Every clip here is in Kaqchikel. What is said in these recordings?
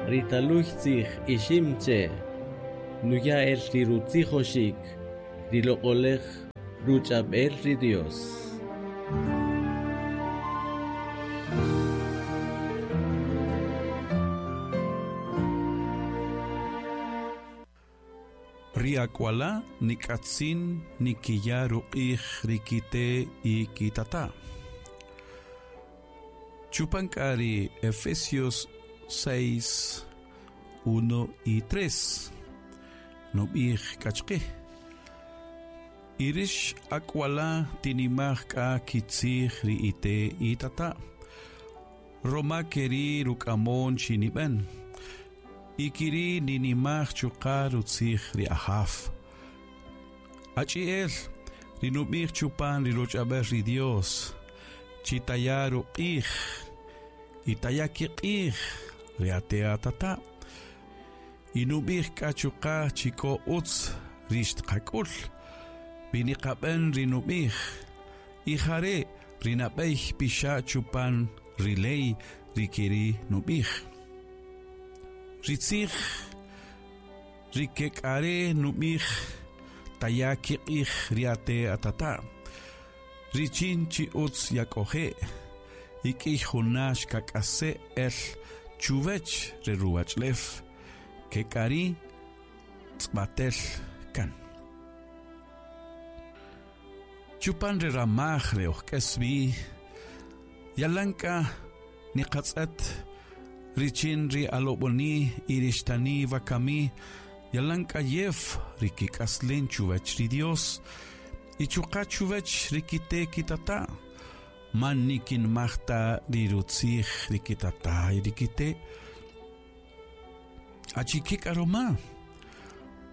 Ri taluy tzij Ixim Che' nuya' el ri rutzijoxik ri loq'olej ruch'ab'el ri Dios. Ri ak'wala' nik'atzin nikiya' ruq'ij ri kite' y kitata'. Chupan k'a ri Efesios 6, 1 y 3, nub'ij k'a chqe, Y rix ak'wala' tinimaj k'a kitzij ri ite' itata', roma keri' ruk'amon chi nib'en, y kiri' ninimaj chuqa' rutzij ri Ajaw. Achi'el ri nub'ij chupan ri ruch'ab'el ri Dios, chi taya' ruq'ij y taya' kiq'ij ri ate' atata'. Y nub'ij k'a chuqa' chi k'o utz ri xtqak'ül wi niqab'än ri nub'ij. Y jare' ri nab'ey pixa' chupan ri ley ri keri' nub'ij. Ri tzij ri kek'are' nub'ij taya' kiq'ij ri ate' atata', richin chi utz yak'oje' y k'iy juna' xkak'ase' el chuwech re ruwach'ulew, kek'ari' tz'b'atel kan. Chupan re ramaj re oj k'es wi, yalan k'a niqatz'et richin ri alob'oni y ri xtani wakami yalan k'ayew ri kik'aslen chuwech ri Dios y chuqa' chuwech ri kite' kitata', man nikinmaj ta ri rutzij ri kitata' y ri kite'. Achike k'a roma?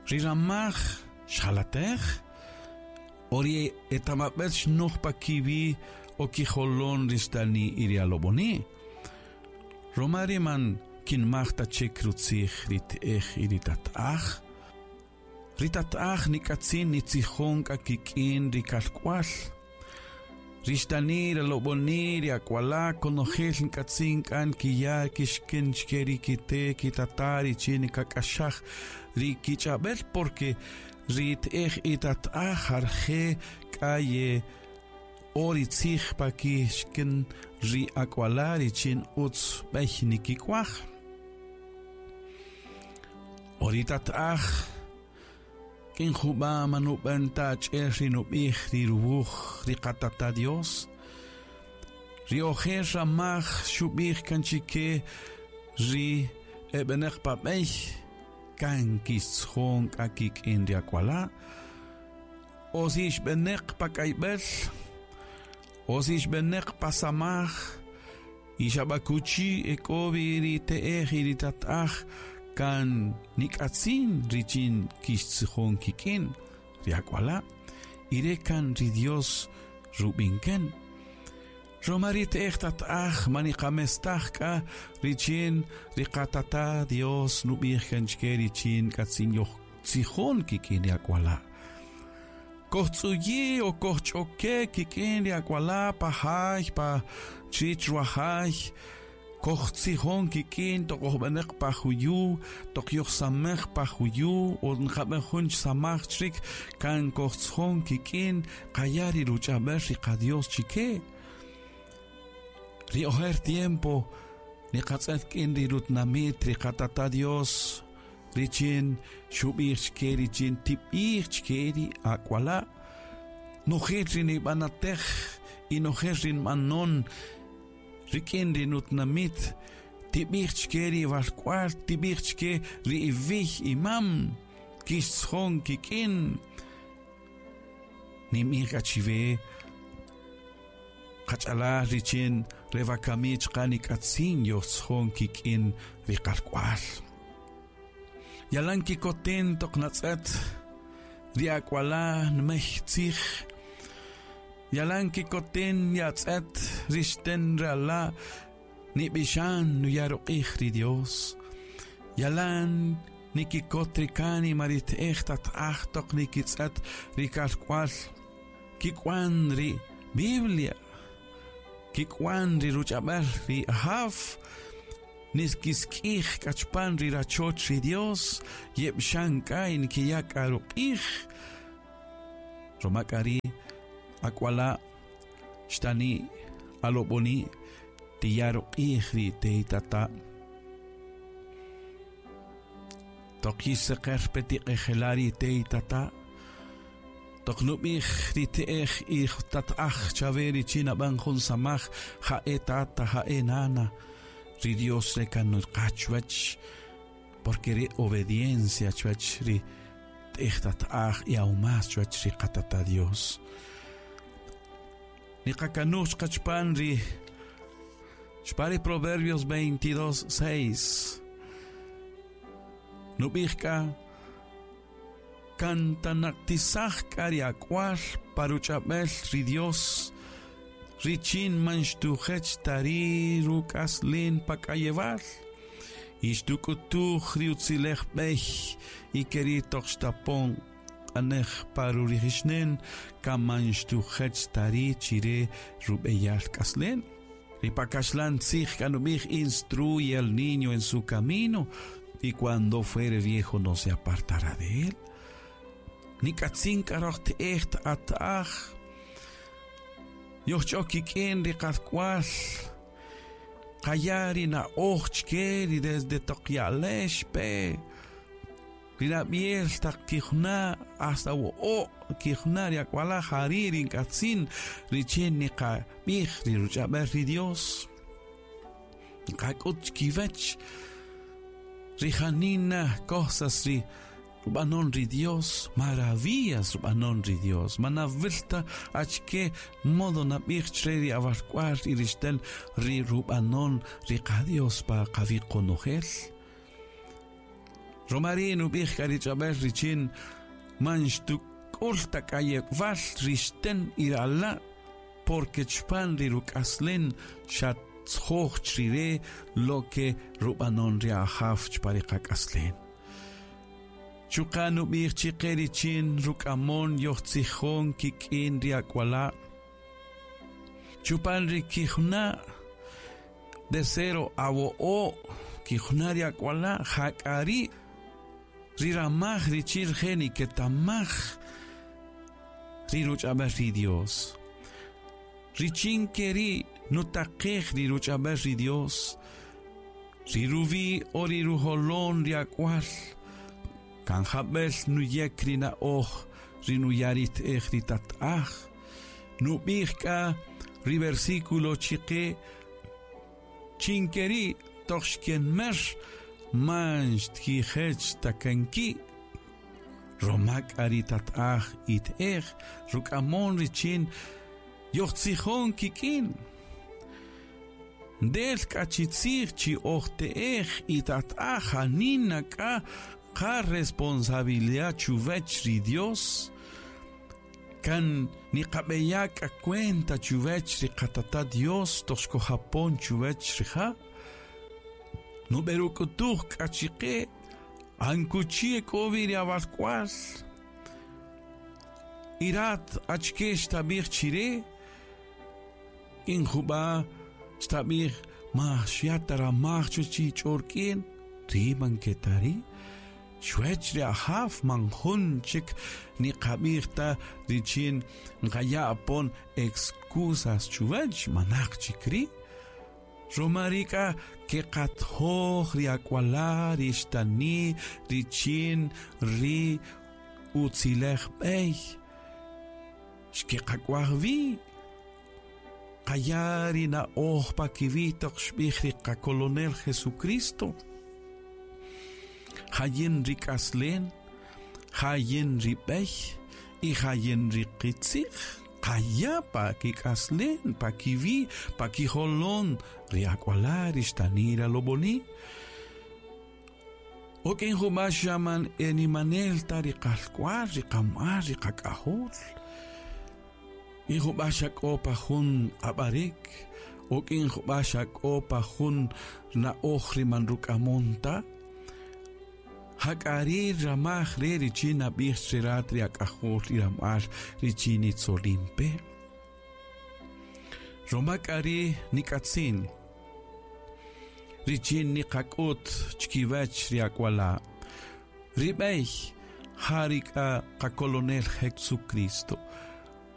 Ri ramaj xjalatej? O ri etamab'el xnoj pa kiwi' o kijolon ri xtani y ri alob'oni'? Roma ri man kinmaj ta chik rutzij ri te'ej y ri tata'aj. Ri tata'aj nik'atzin nitzijon k'a kik'in ri kalk'wal. Ri xtani, ri alob'oni', ri ak'wala' konojel nk'atzin k'a nkiya' kixkïn chke ri kite' kitata' richin nkak'axaj ri kich'ab'el, porque ri te'ej y tata'aj arje' k'a ye o ri tzij pa kixkïn ri ak'wala' richin utz b'ey nikik'waj. O ri tata'aj K'in jub'a' ma nub'än ta achi'el ri nub'ij ri ruwuj ri Qatata' Dios. Ri ojer ramaj xub'ij kan chike ri e b'enäq pa b'ey, kan kixtzjon k'a kik'in ri ak'wala', o si ix b'enäq pa k'ayb'äl, o si ix b'enäq pa samaj, Y xa b'a kuchi e k'o wi ri te'ej y ri tata'aj kan nik'atzin richin kixtzijon kik'in ri ak'wala', y re' kan ri Dios rub'in kan. Roma ri te'ej tata'aj man niqamestaj k'a richin ri qatata' Dios nub'ij kan chke richin k'atzin yojtzijon kik'in ri ak'wala'. Kojtz'uyi' o kojch'oke' kik'in ri ak'wala' pa jay, pa chich ruwajay, kojtzijon kik'in toq ojb'enäq pa juyu', toq yojsamej pa juyu' o nqab'än jun samaj chrik, kan kojtzjon kik'in, qaya' ri ruch'ab'äl ri qa-Dios chike. Ri ojer tiempo niqatz'ët k'in ri rutinamit ri qatata' Dios, Richin xub'ij chke richin tib'ij chke ri ak'wala', Nojel ri nib'anatej y nojel ri nb'anon rik'in ri nutinamit, tib'ij chke ri walk'wal, tib'ij chke ri iwiy imam, kixtzjon kik'in. Ninb'ij k'a chiwe, qach'alal richin re wakami chuqa' nik'atzin yojtzjon kik'in ri qalk'wal. Yalan kikoten toq natz'ët ri ak'wala' nmey tzij, yalan kikoten yatz'ët ri xten ri ala' nib'ixan nuya' ruq'ij ri Dios, yalan nikikot ri kánima ri te'ej tata'aj toq nikitz'ët ri kalk'wal kik'wan ri Biblia, kik'wan ri ruch'ab'äl ri Ajaw. Niskisk'ij k'achpan ri rachoch ri Dios, yeb'xan k'a y nkiya' k'a ruq'ij. Ruma k'a ri ak'wala' xtani' alob'oni' tiya' ruq'ij ri teitata'. Toq yixseqer pe tiq'ejela' ri teitata'. Toq nub'ij ri te'ej y tat'aj chawe richin nab'än jun samaj ja'e tata ja'e nana. Ri Dios re kan nuqa chuwäch, porque ri obediencia chuwäch ri te'ej tat'aj y aún más chuwäch ri qatata Dios. Niqakanuj chqa chpan ri chpan ri Proverbios 22, 6. Nub'ij k'a Kan tanaqtisaj k'a ri ak'wal pa ruch'ab'el ri Dios, richin man xtujech ta ri ruk'aslen pa k'ayewal, y xtuk'utuj ri utzilej b'ey, y keri' toq xtapon q'anej pa rurijixnen, kan man xtujech ta ri' chire rub'eyal k'aslen. Ri pa kaxlan tzij k'a nub'ij instruye al niño en su camino, y cuando fuere viejo no se apartará de él. Nik'atzin k'a röj te'ej ta'aj. Yojch'o kik'in ri qalk'wal. Qaya' ri na'oj chke ri desde toq ya'lex pe. Ri nab'yel taq kijuna' hasta wo'o' kijuna' ri ak'wala' jari' ri nk'atzin richin niqab'ij ri ruch'ab'el ri Dios. Nqak'ut chkiwäch ri janina cosas ri rub'anon ri Dios, maravillas rub'anon ri Dios. Man nawïl ta achkë modo nab'ij chre ri awalk'wal y ri xtën ri rub'anon ri qa-Dios pa qawi' qonojel. Ruma ri' nub'ij k'a ri ch'ab'äl richin man xtuk'ül ta k'ayewal ri xtën y ri ala'. Porque chpan ri ruk'aslen xa tzjoj chrire lo que rub'anon ri Ajaw chpan ri qak'aslen. Chuqa' nub'ij chiqe richin ruk'amon yojtzijon kik'in ri ak'wala'. Chupan ri kijuna' de cero a wo'o' kijuna' ri ak'wala' jak'a ri' ri ramaj richin rije' niketamaj ri ruch'ab'äl ri Dios. Richin ke ri' nutaqej ri ruch'ab'äl ri Dios, ri ruwi' o ri rujolon ri ak'wal, kan jab'el nuyek ri na'oj ri nuya' ri te'ej ri tat'aj. Nub'ij k'a ri versículo chiqe chin ke ri' toq xkenmer man xtkijech ta kan ki'. Roma k'a ri tat'aj y te'ej ruk'amon richin yojtzijon kik'in. Ndel k'a chi tzij chi oj te'ej y tat'aj janina k'a qa-responsabilidad chuwech ri Dios. Kan niqab'eya' k'a cuenta chuwech ri qatata' Dios toq xkojapon chuwech rija'. Nub'eruk'utuj k'a chiqe Ankuchi e k'o wi ri awalk'wal. Y rat achike xtab'ij chire? In jub'a' xtab'ij ma xya' ta ramaj chuwäch chi ch'o rik'in, ri man ke ta ri'. Chuwäch ri Ajaw man jun chik niqab'ij ta richin nqaya' apon excusas chuwäch, manaq chik ri'. Ruma ri' k'a keqatjoj ri ak'wala' ri xtani' richin ri utziläj b'ey xkeqak'waj wi. Qaya' ri na'oj pa kiwi' toq xb'ij ri qakolonel Jesucristo, Ja yin ri k'aslen, ja yin ri b'ey y ja yin ri qitzij. Qaya' pa kik'aslen, pa kiwi', pa kijolon ri ak'wala' ri xtani' ri alob'oni'. O k'in jub'a' xa man e nimanel ta ri qalk'wal, ri qam'al, ri qak'ajol. K'in jub'a' xa k'o pa jun q'ab'arik, o k'in jub'a' xa k'o pa jun na'oj ri man ruk'amon ta. Jak'a ri ramaj re' richin nab'ij che rat ri ak'ajol y ram'al richin nitzolin pe. Roma k'a ri nik'atzin. Richin niqak'ut chkiwech ri ak'wala'. Ri b'ey ja ri k'a qakolonel Jesucristo.